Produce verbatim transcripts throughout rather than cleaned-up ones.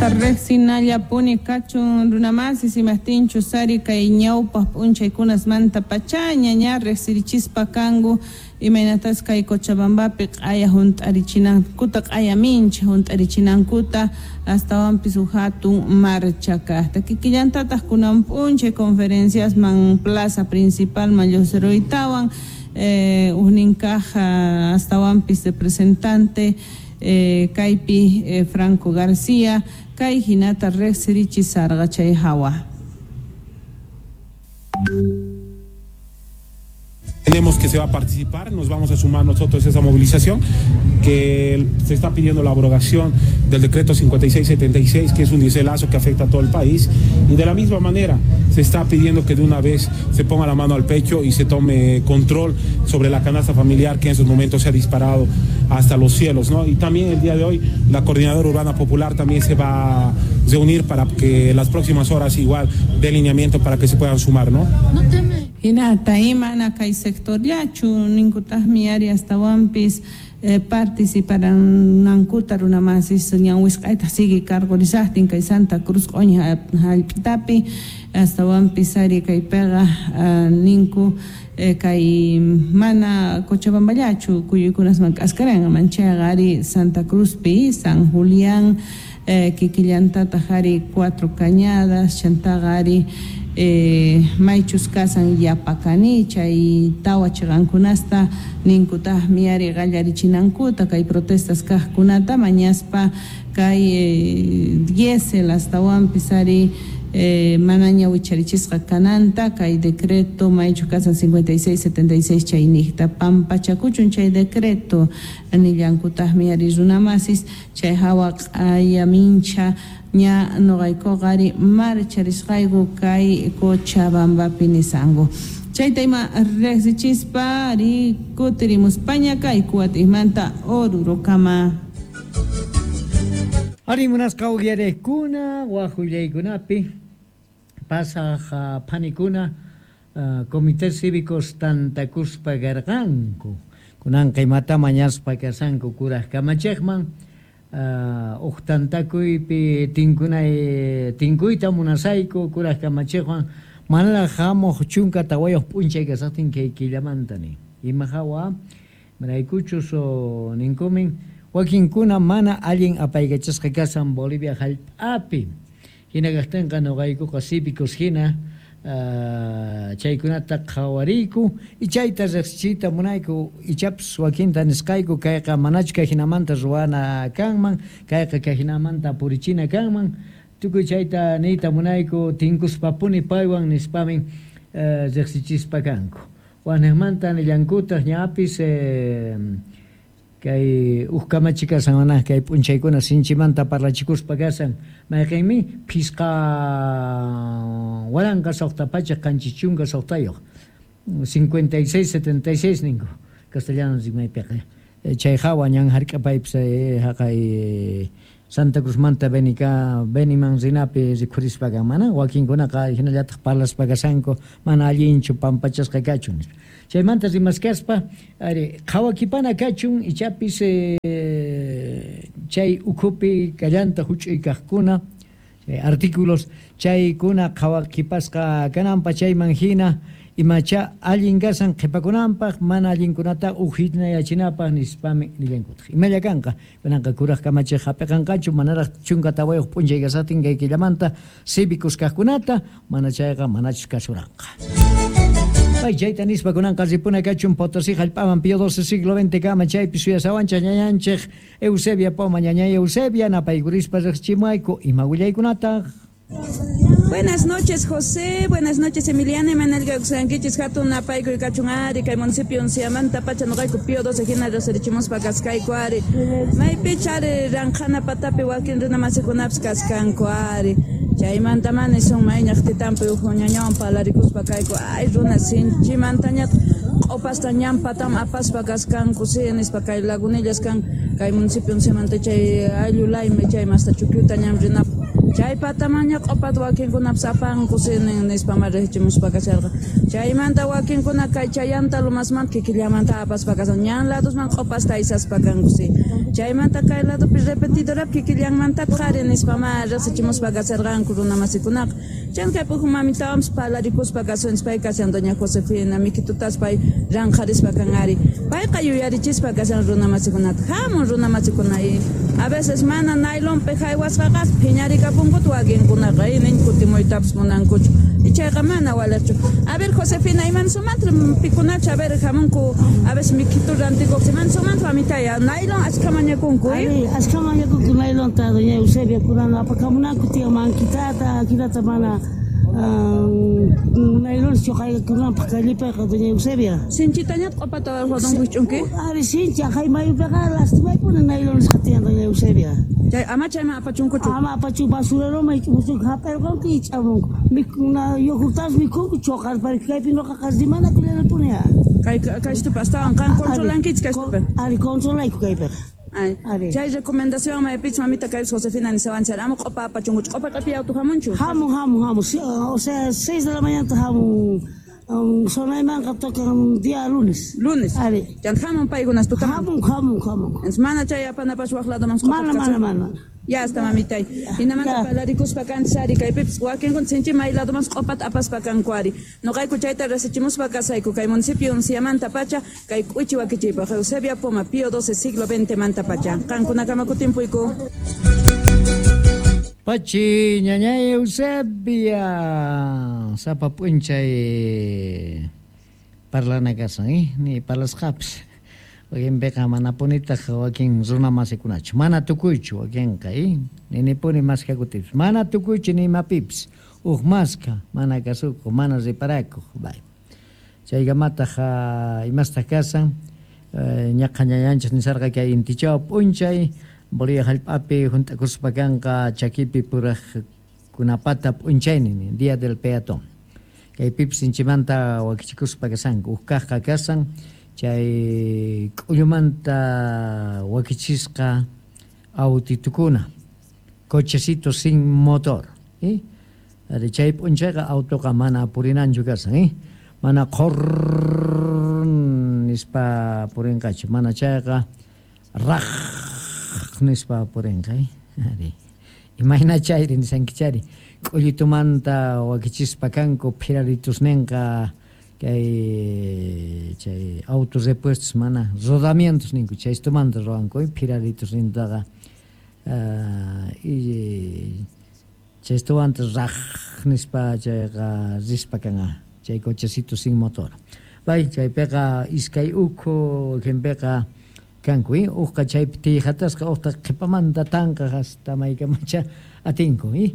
Riqsinallapuni kachun runamasis imajtinchus ari kay ñawpaq p'unchaykunasmanta pachaña ña riqsirichispa kanku imaynatas kay Cochabambapi q'aya hunt'arichinankuta q'aya mincha hunt'arichinankuta astawanpis huk hatun marcha kaqta kikillantataq kunan p'unchay conferenciasman plaza principalman lluqsiruytawan eh, huknin kaq astawanpis representante eh, kaypi eh, Franco García kay hinata riqsirichisarqa chay hawa. Tenemos que se va a participar, nos vamos a sumar nosotros a esa movilización, que se está pidiendo la abrogación del decreto cincuenta y seis setenta y seis, que es un dieselazo que afecta a todo el país, y de la misma manera se está pidiendo que de una vez se ponga la mano al pecho y se tome control sobre la canasta familiar que en esos momentos se ha disparado hasta los cielos, ¿no? Y también el día de hoy la Coordinadora Urbana Popular también se va a reunir para que las próximas horas igual dé lineamiento para que se puedan sumar, ¿no? No teme. Hinata imana kay sectorllachu ninkutaqmi ari astawanpis eh, participaranankuta runamasis ñan wisq'ayta sigue cargorisaqtin kay Santa Cruz q'uña hallp'itapi astawanpis ari kaypiqa uh, ninku eh, kay mana Cochabamballachu kuyuykunasman k'askaranqa manchayqa ari Santa Cruzpi San Julián eh, kikillantataq ari Cuatro Cañadas chantaqa ari Eh, maychus kasan yapakani chay tawa chiqankunasta ninkutaqmi ari qallarichinankuta kay protestas kaqkunata mañaspa kay eh, diésel astawanpis ari eh, manaña wicharichisqa kananta kay decreto maychus kasan cincuenta y seis setenta y seis chayniqta pampachakuchun chay decreto nillankutaqmi ari runamasis chay hawa q'aya mincha ña noqaykuqa ari marcharisqayku kay Cochabambapi nisanku chayta ima riqsichispa ari kutirimuspaña kay kuwatimanta Orurokama. Ari munasqa uyarekuna wajullaykunapi pasaq phanikuna uh, comités cívicos tantakuspa garqanku kunanqa imata mañaspa kasanku kuraj kamachiqman Uh, uqtantakuypi tinkunay tinkuyta munasayku kuraj kamachiqwan manaraq hamuq chunka tawayuq p'unchay kasaqtin kay killamanta nin ima hawa maraykuchus ninkumin wakinkuna mana allin apaykachasqa kasan Bolivia hallp'api hina kaqtinqa nuqaykuqa cívicos hina Uh, chaykunata qhawariyku y chayta riqsichiyta munayku ichapas wakinta nisqayku kayqa manachu kay hinamanta ruwana kanman kayqa kay hinamanta purichina kanman tukuy chayta niyta munayku tinkuspapuni paywan nispamin uh, riqsichispa kanku waniqmanta nillankutaq ñapis eh, kay uj kamachi kasan manaj kay p'unchaykuna sinchimanta parlachikuspa kasan mayqinmi phisqa waranqa suqta pachak qanchis chunka suqtayuq cincuenta y seis setenta y seis ninku castellano rimaypiqa chay hawa ñan hark'apaypis haqay Santa Cruzmanta Benika Beniman rinapi rikhurispa kan mana wakinkunaqa hinallataq parlaspa kasanku mana allinchu pampachasqa kachun nispa chaymanta rimaskaspa ari qhawakipana kachun ichapis eh, chay ukhupi kallanta huch'uy kaqkuna chay artículos chaykuna qhawakipasqa kananpa chayman hina imacha allin kasan qhipakunanpaq mana allinkunata uhinayachinapaq nispami nillankutaq imalla kanqa kunanqa kuraj kamachiq hap'iqanqachu manaraq chunka tawayuq p'unchay kasatin kay killamanta cívicos kaqkunata mana chayqa manachus kasuranqa. Ay, chayta nispa kunanqa ripuna kachun Potosí hallp'aman Pío doce siglo veinte kama chaypi suyasawanchaq ñañanchik Eusebia Poma ñañay Eusebia napaykurispa riqchimuayku ima willaykunataq. Buenas noches, José. Buenas noches, Emiliana. Emanuel Gauxanquichis, Hatun, Napayco y Cachunari, Kay municipio Unciamanta, Pacha, Nogayco, Pío doce, Gina, Roserichimus, Pacascayco, Ari. Maypichari, Ranjana, Patapi, Wakin, Runa, Masikunaps, Cascanco, Ari. Chaymanta mani son mayñaq titampi ujuñañawan palarikuspa kayku. Ay, runa, sinchimantañat, q'upasta ñampatam apaspa kaskanku, sí, nispa kay lagunillas kan, kay municipio Unciamanta, chay ayllu laymi, chay masta chukyuta ñam rinap. Chay patamaña q'opata wakinkunapas apanku nispa riqchimuspa kasharqa. Chaymanta wakinkuna kay chayanta lumasmanta kikillamanta apaspa kasan ñan ladosman q'opasta aysaspa kanku si. Chaymanta kay ladopi repetidorapi kikillanmanta qhari nispa ma riqsichimuspa kasharqanku runa masikunaqa. Chan kay puju mamitawanpas parlarikuspa kasunchis pay kashan doña Josefina mikitutas pay ranqharispa kan ari. Payqa yuyarichispa kashan runa masikunata. Hamun runa masikuna a veces mana nailonpi haywasqaqa phiñarikapunkuta wakinkunaqa nin kutimuytapas munankuchu. Chayqa mana waliqchu. A ver Josefina, iman sumanta pikunachu a ver hamunku a veces mikitu rantikuq iman sumanta mamitaya nailon achka mañakunku. Ari, achka mañakunku nailonta doña Eusebia kunan apakamunanku tiyan mankitata, akilata mana nailon chuqaykunanpaq kallipayqa doña Eusebia. Sinchitañat q'opata rodonkuch'unki? Ari, sinchi aqhay mayupiqa lastimaypuni nailon nisqa tiyan doña Eusebia. Chay ama chayman apachunkuchu? Ama apachu basureroman ich'amunku hap'irqanku ich'amunku. Mikuna yogurtas mikhunku chuqarpari kaypi nuqaqa rimanakullanapuni. Kay kaystupi astawan qan controlankichik kaystupi? Ari, controlayku kaypiqa. Ay, chay recomendación maypich mamita kay Josefina nisawanchar ama q'opa apachunkuchu q'opa q'api auto hamunchu? Hamun, hamun, hamun. O sea, seis de la mañana hamun. Um, sonaymanqa tocan día lunes. Lunes. Ari. Chan hamun paykunas tutaman. Hamun, hamun, hamun. Entonces mana chay apanapas waq ladoman Mana, mana, mana. Ya está mamitay. Hinamanta parlarikuspa kanchis ari kaypipis wakinkuna sinchi may ladoman q'opata apaspa kanku ari. Nuqayku chayta rasichimuspa kasayku kay municipio Unciamanta pacha kay k'uchi wakichiypaq Eusebia Poma Pío doce siglo veinte manta pacha. Qankunakama kutimpuyku. Pachi ñañay Eusebia sapa p'unchay parlana kasan eh ni parlasqapis wakinpiqa manapunitaq wakin runa masikunachu mana tukuychu wakinqa eh ninipuni maskakutipis mana tukuychu ni imapipis uj maska mana kasukuq mana riparakuq bay chaykamataq imastaq kasan ñaqa ñañanchis nisarqa kay intichaw p'unchay Bolivia hallp'api hunt'akuspa kanqa chakipi puraqkunapata p'unchaynin día del peatón kaypipis sinchimanta wakichikuspa kasanku uj kaqqa kasan chay k'ullumanta wakichisqa autitukuna cochecito sin motor eh ari chay p'unchayqa autoqa mana purinanchu kasan eh mana qhor nispa purinqachu mana chayqa raj nispa purinqa ari imayna chayri nisankichari k'ullitumanta wakichispa kanku phiraritusninqa kay chay autos repuestos mana rodamientos ninku chaystumanta ruwanku phiraritusnintaqa y chaystumanta raj nispa chayqa rispa kanqa chay cochecito sin motor bay chaypiqa iskay ukhu wakinpiqa kanku eh uqqa chaypi tiyhatasqa uqta qhipamanta tanqa hasta maykamacha atinku eh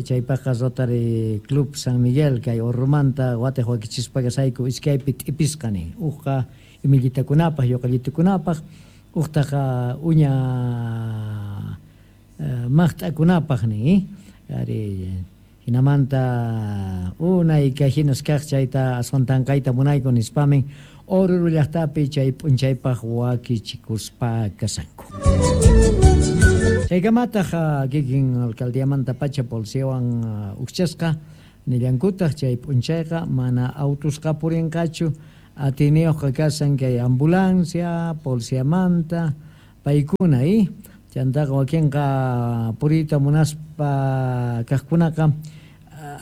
chaypaqqa Rotary Club San Miguel kay Orrumanta watiq wakichispa kasayku iskaypi t'ipisqa nin uqqa imillitakunapaq yuqallitukunapaq uqtaqa uña maqt'akunapaq nin eh ari hinamanta unay kay hinas kaq chayta aswan tanqayta munayku nispamin Oruro llaqtapi chay p'unchaypaq wakichikuspa kasanku. Chaykamataq kikin alcaldiamanta pacha policiawan uqchasqa nillankutaq chay p'unchayqa mana autusqa purinqachu atiniyuqqa kasan kay ambulancia, policiamanta paykuna eh chantaqa wakinqa puriyta munaspa kaqkunaqa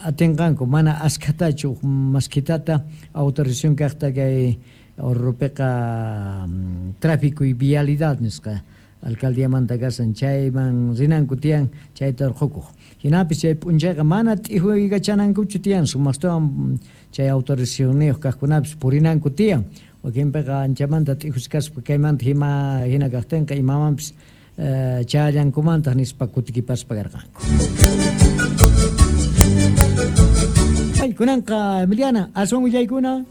atinqanku mana askhatachu maskitata autorización kaqta kay Orrupiqa tráfico y vialidad nisqa alcaldiamanta kasan chayman rinanku tiyan chayta urqukuq hinapis chay p'unchayqa mana t'ijuykachanankuchu tiyan sumaqtawan chay autorizacionniyuq kaqkunapis purinanku tiyan wakinpiqa anchamanta t'ijuskaspa kaymanta hima hina kaqtinqa imamanpis challankumantaq nispa kutikipaspa karqanku. Ay, kunanqa Emiliana, aswan willaykuna.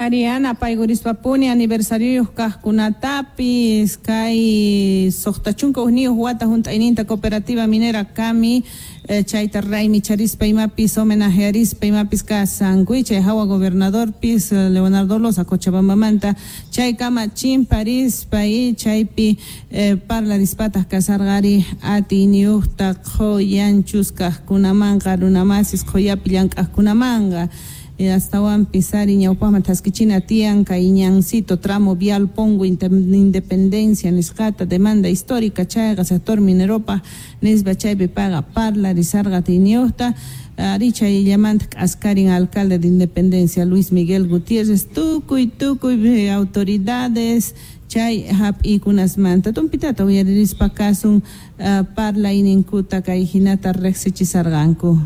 Ariana paygurispapuni aniversarioyuq kaqkunatapis kay suqta chunka hukniyuq wata hunt'ayninta cooperativa minera Cami eh, chayta raymicharispa imapis homenajearispa imapis kasanku chay hawa gobernadorpis Leonardo Loza Cochabambamanta chaykama chimparispa y chaypi eh, parlarispataq kasarqari atiyniyuqta qhuyanchus kaqkunamanqa runamasis qhuyapi llank'aqkunamanqa astawanpis ari ñawpaqman thaskichina tiyan kay ñancito tramo vial Pongo Independencia nisqata demanda histórica chayqa sector mineropa nispa chaypi paga parlarisarqa atiyniyuqta ari chayllamanta k'askarin alcalde de Independencia Luis Miguel Gutiérrez tukuy tukuy autoridades chay hap'ikunasmanta tumpitata uyaririspa kasun uh, parlayninkuta kay hinata riqsichisarqanku.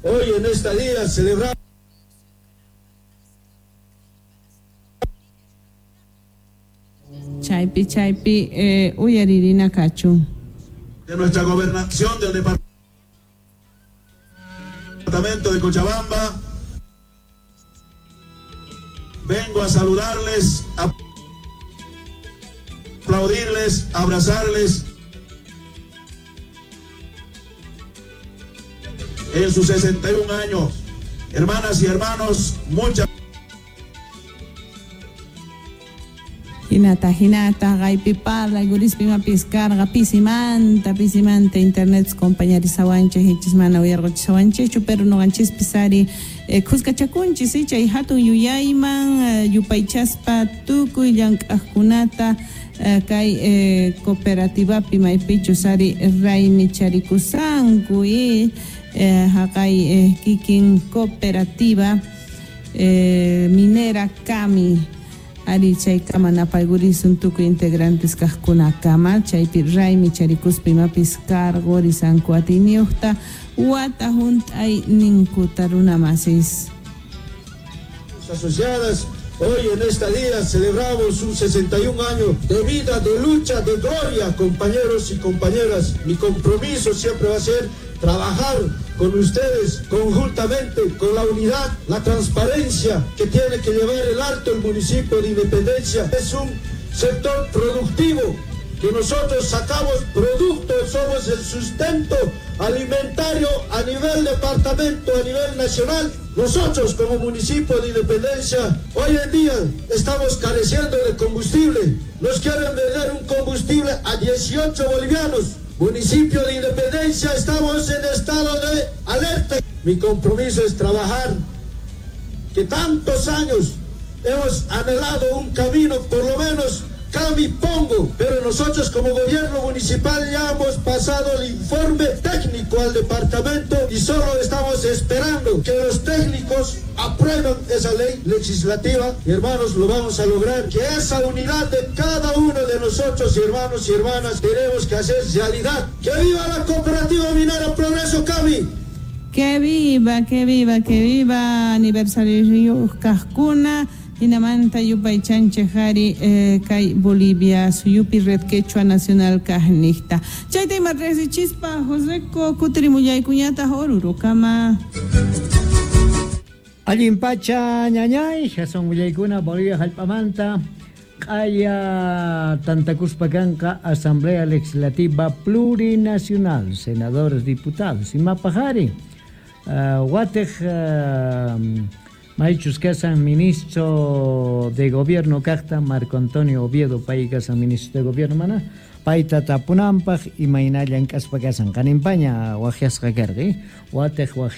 Hoy en esta día celebramos chaypi chaypi eh, uyaririna kachun de nuestra gobernación del departamento de Cochabamba. Vengo a saludarles, a aplaudirles, a abrazarles en sus sesenta y un años. Hermanas y hermanos, muchas Hinata, hinata, gaypi parla, gurispi imapis karqa, pisimanta, pisimanta, internet compañarisawanchik, hichis mana uyarquchisawanchikchu, pero nuqanchispis ari eh, khuskachakunchis, chay hatun yuyayman, eh, yupaychaspa tukuy llank'aqkunata eh, kay eh, cooperativapi maypichus ari raymicharikusqanku y eh, haqay eh, kikin cooperativa eh, minera Cami ari chaykama napaygurisun tukuy integrantes kaqkunakama chaypi raymicharikuspa imapis karqurisanku atiyniyuqta wata hunt'ayninkuta runamasis. Asociadas, hoy en esta día celebramos un sesenta y un año de vida, de lucha, de gloria, compañeros y compañeras. Mi compromiso siempre va a ser trabajar con ustedes conjuntamente, con la unidad, la transparencia que tiene que llevar el alto el municipio de Independencia. Es un sector productivo que nosotros sacamos productos, somos el sustento alimentario a nivel departamento, a nivel nacional. Nosotros como municipio de Independencia, hoy en día estamos careciendo de combustible. Nos quieren vender un combustible a dieciocho bolivianos. Municipio de Independencia, estamos en estado de alerta. Mi compromiso es trabajar, que tantos años hemos anhelado un camino, por lo menos Cami Pongo, pero nosotros como gobierno municipal ya hemos pasado el informe técnico al departamento y solo estamos esperando que los técnicos aprueben esa ley legislativa. Y hermanos, lo vamos a lograr, que esa unidad de cada uno de nosotros, hermanos y hermanas, tenemos que hacer realidad. ¡Que viva la cooperativa minera Progreso Cami! ¡Que viva, que viva, que viva! Aniversario kaqkuna. Hinamanta yupaychanchik ari eh, kay Bolivia suyupi Red Quechua Nacional kaqniqta. Chayta ima riqsichispa Joseco kutirimullaykuñataq Orurukama. Allin pacha ñañay, jason willaykuna Bolivia hallp'amanta q'aya tantakuspa kanqa Asamblea Legislativa Plurinacional, senadores, diputados, imapaq ari uh, watiq uh, Maichus kasan ministro de gobierno kaqta Marco Antonio Oviedo pay kasan ministro de gobierno mana payta tapunanpaq imayna llank'aspa kasan qaninpaña waqyasqa karqa watiq waqyasqa